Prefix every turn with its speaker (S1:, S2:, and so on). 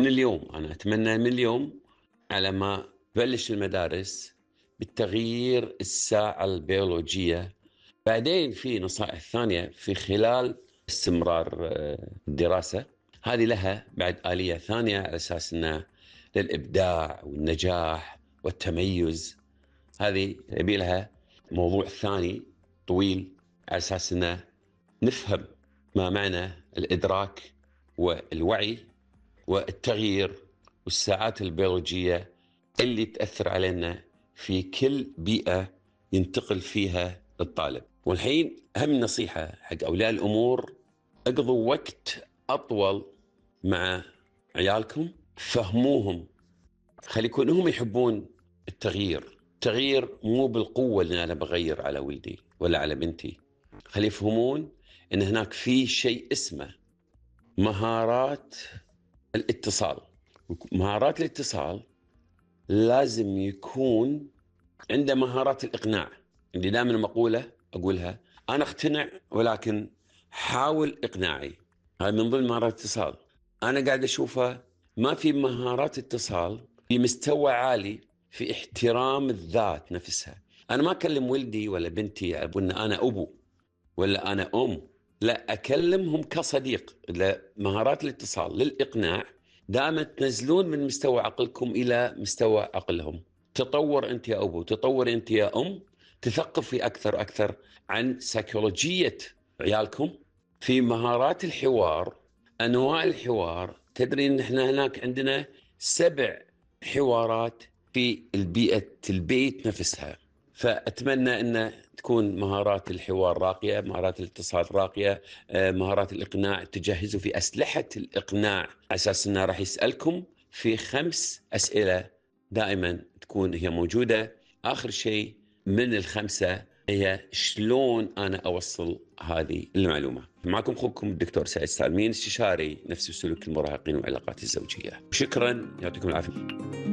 S1: من اليوم أنا أتمنى من اليوم على ما تبلش المدارس بالتغيير الساعة البيولوجية. بعدين في نصائح ثانية في خلال استمرار الدراسة، هذه لها بعد آلية ثانية على أساس أنه للإبداع والنجاح والتميز. هذه يبي لها موضوع ثاني طويل على أساس أنه نفهم ما معنى الإدراك والوعي والتغيير والساعات البيولوجية اللي تأثر علينا في كل بيئة ينتقل فيها الطالب. والحين أهم نصيحة حق أولياء الأمور: اقضوا وقت أطول مع عيالكم، فهموهم، خلي يكون هم يحبون التغيير. التغيير مو بالقوة اللي أنا بغير على ولدي ولا على بنتي، خلي يفهمون أن هناك في شيء اسمه مهارات الاتصال. مهارات الاتصال لازم يكون عنده مهارات الإقناع. اللي دائما مقولة أقولها: أنا أقتنع ولكن حاول إقناعي. هذا من ضمن مهارات الاتصال. أنا قاعد أشوفها ما في مهارات اتصال في مستوى عالي في احترام الذات نفسها. أنا ما أكلم ولدي ولا بنتي أقول أنا أبو ولا أنا أم، لا، أكلمهم كصديق. مهارات الاتصال للإقناع دائما تنزلون من مستوى عقلكم إلى مستوى عقلهم. تطور أنت يا أبو، تطور أنت يا أم، تثقفي أكثر عن سيكولوجية عيالكم. في مهارات الحوار، أنواع الحوار، تدري أن احنا هناك عندنا 7 حوارات في البيت نفسها. فأتمنى أن تكون مهارات الحوار راقية، مهارات الاتصال راقية، مهارات الإقناع. تجهزوا في أسلحة الإقناع على أساس أنه راح يسألكم في 5 أسئلة دائما تكون هي موجودة. آخر شيء من ال5 هي شلون أنا أوصل هذه المعلومة. معكم أخوكم الدكتور سعيد سالمين، استشاري نفسي وسلوك المراهقين والعلاقات الزوجية. شكرا، يعطيكم العافية.